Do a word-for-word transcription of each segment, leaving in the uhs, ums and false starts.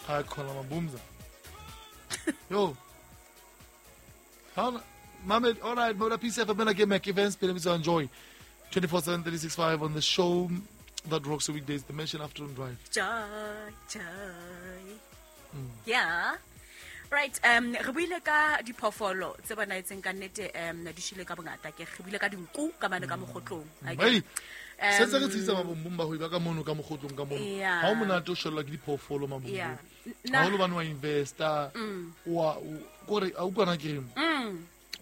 Ha khona mabumza. Yo. Ha Mame, all right, Moda P C F M ke Mac Events pele bitsa enjoy twenty-four seven three sixty-five on the show that rocks the weekdays, the Dimension Afternoon Drive. Joy, joy. Mm. Yeah. Right, um re buile ka diphoofolo tse banaetseng ka nnete um di shile ka bongata ke re buile ka dinku ka mane ka mogotlong. Hey. Se se re tsitsa mabombong ba ho iba ka mono ka mogotlong ka mono. Ha o monate o shellwa ke diphoofolo mabombong. Ha o lo bana wa investor wa kore a utlwana ke reng.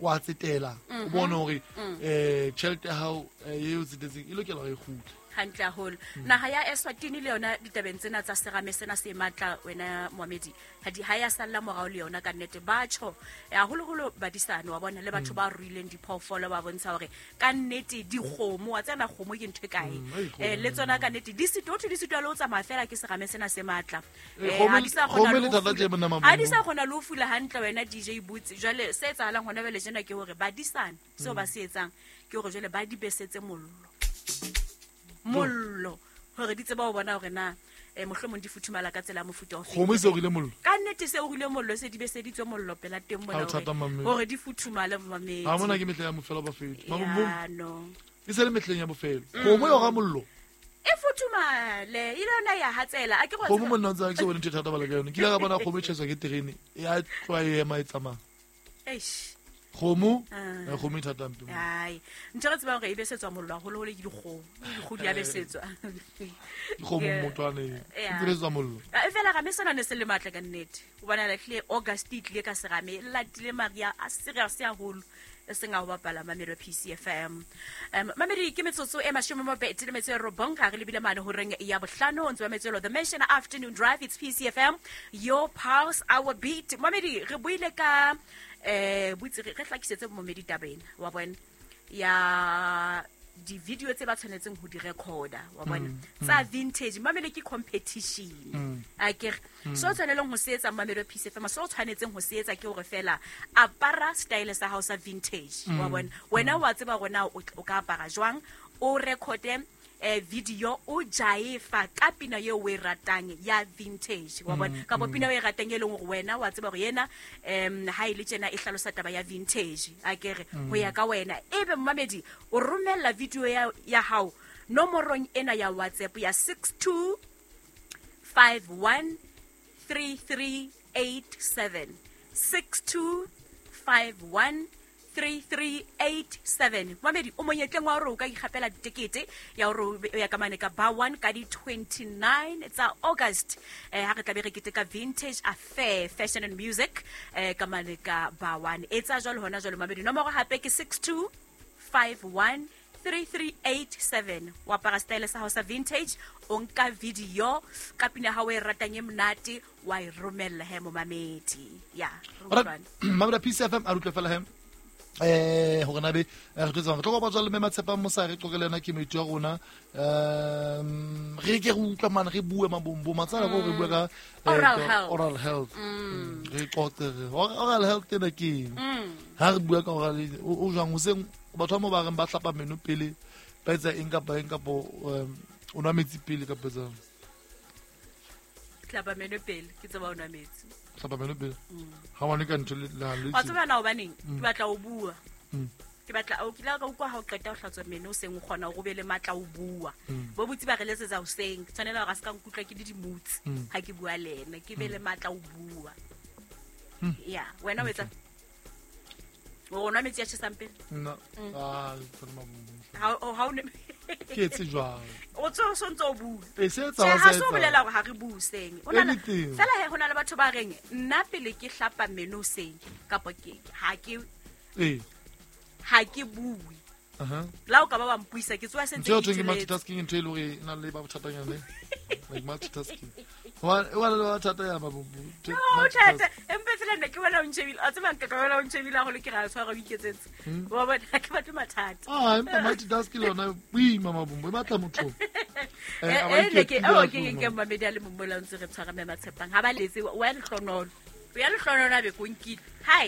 Wa tsetela o bone hore eh tjhelete ya hao e o tsetetseng e lokela hore e kgutle. Hantle haholo. Naha ya Eswatini le yona ditabeng tsena tsa serame sena se matla wena Mohamedi. Ha di ha ya salla morao le yona ka nnete ba tjho haholoholo badisane wa bona le batho ba ruileng diphoofolo ba bontsha hore ka nnete dikgomo wa tsena kgomo ke ntho e kae. Eh le tsona ka nnete di sito di sito le o tsamaya fela ke serame sena se matla. Eh ha di sa kgona le ha di sa kgona le ho fula hantle wena D J Boots. Jwale se etsahalang hona jwale jena ke hore badisane seo ba se etsang ke hore jwale ba di besetse mollo. Mollo hore di tseba ho bona hore na eh mohlomong di futhumala ka tsela mofuta o kgomo se orile mollo ka nnete se orile mollo se di beseditswe mollo pela teng mona hore hore di futhumale mamedi ha mona ke mehle ya mofelo ba fetho no e se le mehleng ya bofelo kgomo e ora mollo e futhumale ile yona ya hatsela a ke go kgomo monna ntse ke se bone ntho thata bala ka yona ke ile ka bona kgomo e tjheswa ke terene e a tloa e ema e tsamaya eish kgomo e kgomo e thata mpe ai ntho re tsebang hore e besetswa mollo haholoholo ke dikgomo dikgomo di a besetswa dikgomo motwane e besetswa mollo e fela rame sena ne se le matla ka nnete o bona la tlile August e tlile ka serame latile Maria a serious haholo e seng a ho bapala Mamelo P C F M. Um Mamedi ke metsotso e mashome a mabedi le metso e robong ga re lebile mane horeng ya bohlano ntse ba metselo The Mention Afternoon Drive, it's P C F M, your pulse, our beat. Mamedi re buile ka eh botse re hlakisetse momedi tabeng wa bona ya di video tse ba tshwanetseng ho di recorder wa bona tsa vintage mamele ke competition a ke so tshwaneleng ho se etsa Mamelo P C F M so tshwanetseng ho se etsa ke hore fela apara style sa hao sa vintage wa bona wena wa tseba rona o ka apara jwang o recorde eh video o jaifa ka pina eo o e ratang ya vintage wa bona ka pina o e ratang e leng hore wena wa tseba hore yena em ha ile tjena e hlalosa taba ya vintage a ke re ho ya ka wena ebe mmamedi o romella video ya ya hao nomorong ena ya WhatsApp ya six two five one three three eight seven six two five one three three eight seven. Mamedi o monyetleng wa hore o ka ikgapela ditekete ya hore o ya ka mane ka bar one ka di twenty-nine tsa August eh ha re tla be re keteka Vintage Affair Fashion and Music eh ka mane ka bar one etsa jwalo hona jwalo mamedi nomoro hape ke six two five one three three eight seven wa apara style sa hao sa vintage o nka video ka pina ha o e ratang e monate wa e romella he mo mamedi ya Mamedi P C F M a rutle fela he eh hore na be re tlo tsama tlo go batswa le mme Matshepang Mosare qoqele yena ke moithuti wa rona um re ke re utlwa mane re bue mabombo matsala go re bue ka oral health re qoqe oral health ena ke ha re bua ka oral o jwang hoseng batho ba mo ba reng ba hlapa meno pele ba etsa eng kapa eng kapa o nwa metsi pele kapa etsang hlapa meno pele ke tseba o nwa metsi hlapa meno pele ha wa ne ka ntho le la le wa tseba na hobaneng ke batla o bua ke batla o kila ka utlwa ha o qeta ho hlatswa meno o seng o kgona o be le matla o bua bo botsi ba re letsetsa hoseng ke tshwanela hore a se ka nkutlwa ke le dimutsi ha ke bua le ena ke be le matla o bua ya wena o etsa o nwa metsi a tjhesang pele nna ah tsena mabombo ha ha o ne ke etse jwang o tso so ntse o bua e se etsa wa se ha so bolela hore ha re buseng o na fela he hona le batho ba reng nna pele ke hlapa meno seng kapa ke ha ke eh ha ke bue aha la o ka ba ba mpuisa ke tswa sentse ke ke multitasking ntho e le hore na le ba bothatanyana like multitasking wa wa le bothata ya mabombo no thata empe fela nna ke bona o ntshebile a tseba nka ka bona o ntshebile haholo ke ra tshwara o iketsetse wa bona ke batho mathata ah empa multitasking le yona boima mabombo e batla motho eh eh ke o ke ke mamedi a le mong mola ntse re tshwara mme Matshepang ha ba letse wa lehlonolo o ya lehlonolo a be konkile hi.